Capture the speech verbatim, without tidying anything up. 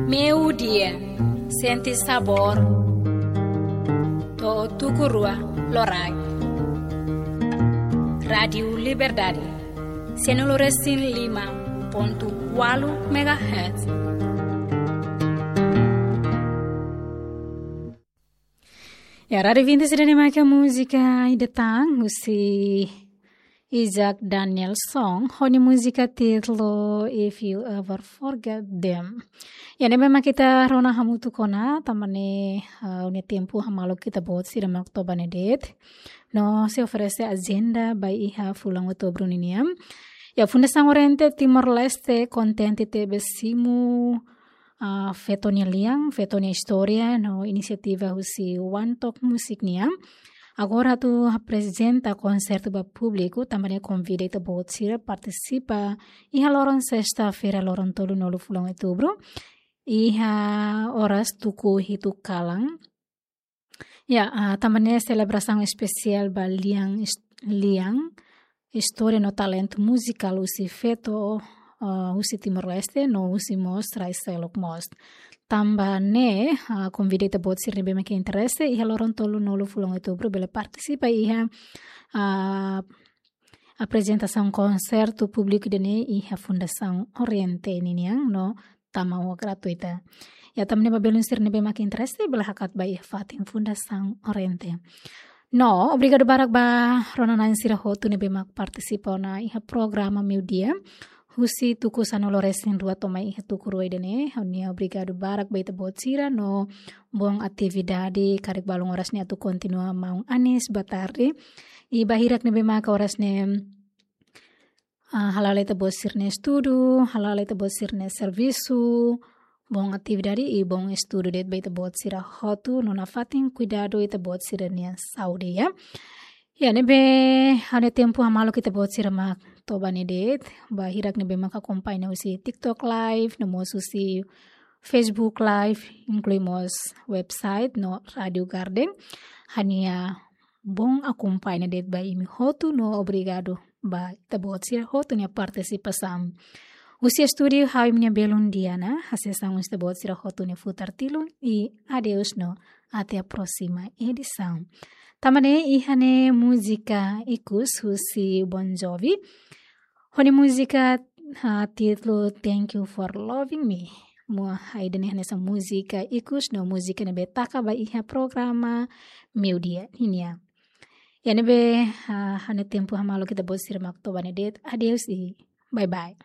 Meiudia, sente sabór. To'o tuku rua loraik. Rádiu Liberdade, sianulu resin lima pontu ualu megahertz. Ya, rádiu ouvinte sira ne'ebé mak múzika ida tan husi Isaac Danielson, ho nia múzika títulu If You Ever Forget Them. Ya, ne'ebé mak ita rona hamutuk ona, tanba ne'e, ah, nia tempu hamaluk ita-boot sira mak toba ne'e de'it. No sei oferese ajenda ba iha fulan Outubru ninian. Ya, Fundasaun Oriente Timor-Leste kontente tebes simu, ah, feto nia lian, feto nia istória, no inisiativa husi One Talk Music nian. Agora atu aprezenta konsertu ba públiku, tanba ne'e konvida ita-boot sira partisipa iha loron sesta-feira, loron tolunulu fulan Outubru, iha oras tuku hitu kalan. Ya, ah, tanba ne'e selebrasaun espesiál ba lian is-, lian istória no talentu muzikál husi feto, ah, husi Timor-Leste, no husi mós rai seluk mós. Tanba ne'e, ah, konvida ita-boot sira ne'ebé mak interese, iha loron tolunulu fulan Outubru bele partisipa iha, ah, aprezentasaun konsertu públiku ida-ne'e iha Fundasaun Oriente ninian no tama ho gratuita. Ya, tanba ne'e ba belun sira ne'ebé mak interese, bele hakat ba iha fatin Fundasaun Oriente. No, obrigadu barak ba rona-na'in sira hotu ne'ebé mak partisipa ona iha programa Meiudia. Husi tuku sanulu resin rua to'o mai iha tuku rua ida-ne'e, ha'u-nia obrigadu barak ba ita-boot sira no bom atividade, karik balun oras ne'e atu kontinua maun anis ba tarde. I ba hirak ne'ebé maka oras ne'e, ah, hala'o ita-boot sira-nia estudu, hala'o ita-boot sira-nia servisu, bom atividade i bom estudu de'it ba ita-boot sira hotu, no nafatin kuidadu ita-boot sira-nia saúde, ya. Ya, ne'ebé ha'u-nia tempu hamaluk ita-boot sira mak toba ne'e de'it, ba hirak ne'ebé mak akompaña husi TikTok Live, no mós husi Facebook Live, inklui mós website no Rádiu Garden. Ha'u-nia bom akompaña de'it ba imi hotu no obrigadu ba ita-boot sira hotu nia partisipasaun. Husi estúdiu ha'u imi-nia belun Diana, hasees an husi ita-boot sira hotu nia futar tilun i adeus no até a próxima edição. Tanba ne'e iha ne'e múzika ikus husi Bon Jovi. Ho nia múzika, ah, títulu Thank You for Loving Me. Mo, ah, ida-ne'e hanesan múzika ikus no múzika ne'ebé taka ba iha programa Meiudia ninian. Ya, ne'ebé, ah, ha'u-nia tempu hamaluk ita-boot sira mak toba ne'e de'it. Adeus i bye bye.